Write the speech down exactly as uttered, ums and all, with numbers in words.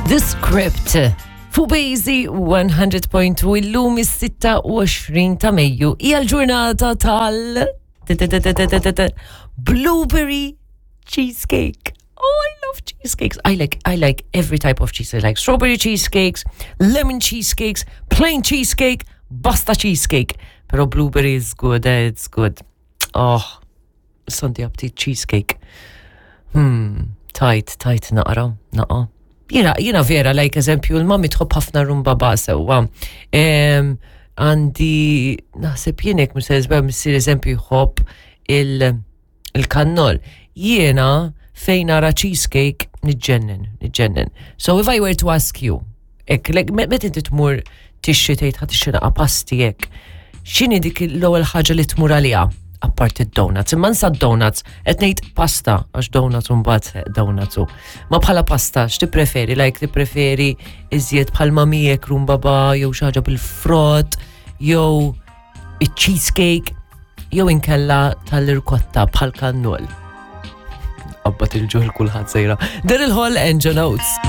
The Script. Fuq Bejzi one hundred point two, illum is-sitta u għoxrin ta' Mejju hija l-ġurnata tal blueberry cheesecake. Oh, I love cheesecakes. I like I like every type of cheese. I like strawberry cheesecakes, lemon cheesecakes, plain cheesecake, basta cheesecake. Pero blueberry is good, eh, it's good. Oh, Sunday aptit cheesecake. Hmm, tight, tight naqra, naqa. Jiena, jiena vera, like eżempju, l-mami tħobb ħafna rhubarb sewwa. Għandi, naħseb jienek, missier missier eżempju jħobb il-kannol. Jiena fejn nara cheesecake niġġennen, niġġennen. So if I were to ask you, ek, like, met inti tmur tixtri, tgħid ħa tixtri naqa pasti hekk, x'inhi dik l-ewwel ħaġa li tmur għaliha? Apart id-donuts. Imma nsa donuts, qed ngħid pasta, għax donuts mbagħad donuts. Ma bħala pasta, x'tippreferi? Like tippreferi iżjed bħal mamijek rhubarb jew xi ħaġa bil-frott, jew il-cheesecake, jew inkella tal-irkotta bħal kannol. Qabbat il-ġuħ kulħadd sejra. Daryl Hall and John Oates.